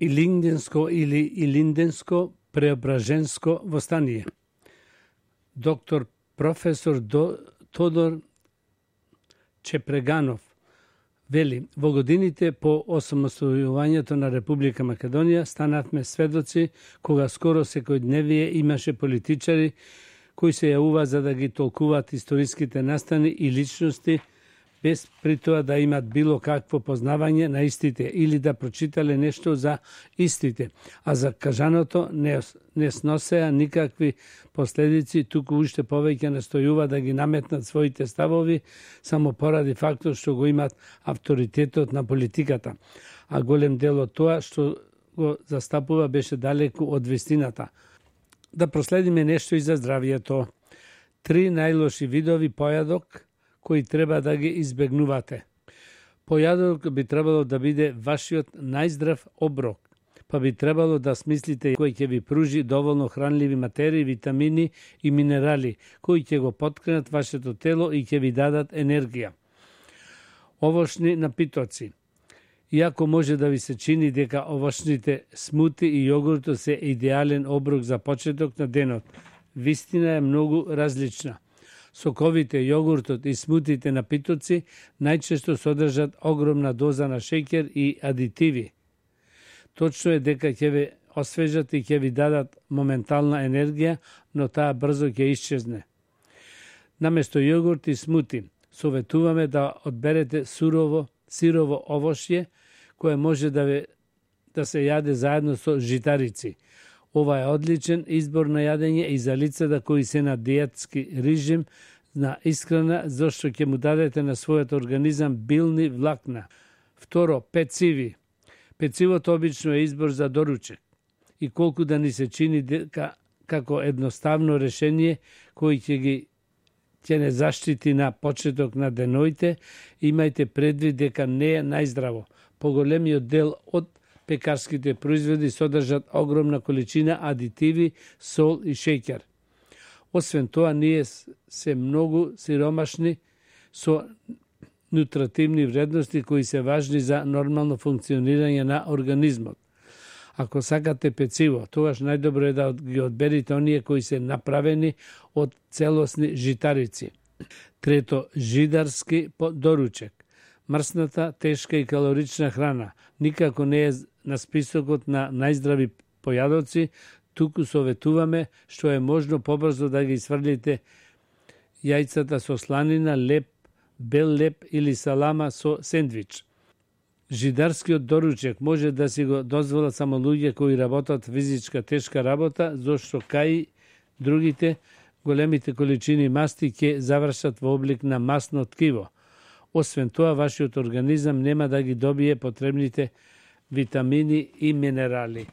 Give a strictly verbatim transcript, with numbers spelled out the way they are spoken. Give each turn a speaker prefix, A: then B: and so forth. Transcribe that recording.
A: Илинденско или Илинденско преображенско востание. Доктор професор До, Тодор Чепреганов вели: во годините по осамостојувањето на Република Македонија станавме сведоци кога скоро секојдневие имаше политичари кои се јавува за да ги толкуваат историските настани и личности без при тоа да имат било какво познавање на истите или да прочитале нешто за истите, а за кажаното не, не сносеа никакви последици, туку уште повеќе настојува да ги наметнат своите ставови само поради фактот што го имат авторитетот на политиката, а голем дел од тоа што го застапува беше далеку од вистината. Да проследиме нешто и за здравието. Три најлоши видови појадок кои треба да ги избегнувате. Појадок би требало да биде вашиот најздрав оброк, па би требало да смислите кој ќе ви пружи доволно хранливи материи, витамини и минерали, кои ќе го поткренат вашето тело и ќе ви дадат енергија. Овошни напитоци. Иако може да ви се чини дека овошните смути и јогуртот се идеален оброк за почеток на денот, вистина е многу различна. Соковите, јогуртот и смутите напитоци најчесто содржат огромна доза на шеќер и адитиви. Точно е дека ќе ве освежат и ќе ви дадат моментална енергија, но таа брзо ќе исчезне. Наместо јогурт и смути, советуваме да одберете сурово, сирово овошје, кое може да, ве, да се јаде заедно со житарици. Ова е одличен избор на јадење и за лицата кои се на диетски режим на исхрана, зашто ќе му дадете на својот организам билни влакна. Второ, пециви. Пецивото обично е избор за доручек. И колку да ни се чини дека како едноставно решение кој ќе ги ќе не заштити на почеток на деноите, имајте предвид дека не е најздраво. Поголемиот дел од пекарските производи содржат огромна количина адитиви, сол и шеќер. Освен тоа, ние се многу сиромашни со нутративни вредности кои се важни за нормално функционирање на организмот. Ако сакате пecivo, тогаш најдобро е да ги одберите оние кои се направени од целосни житарици. Трето, жидарски доручек. Мрсната, тешка и калорична храна никако не е на списокот на најздрави појадоци, туку советуваме што е можно побрзо да ги сврлите јајцата со сланина, леп, бел леп или салама со сендвич. Жидарскиот доручек може да си го дозволат само луѓе кои работат физичка тешка работа, зашто кај другите големите количини масти ќе завршат во облик на масно ткиво. Освен тоа, вашиот организам нема да ги добие потребните витамини и минерали.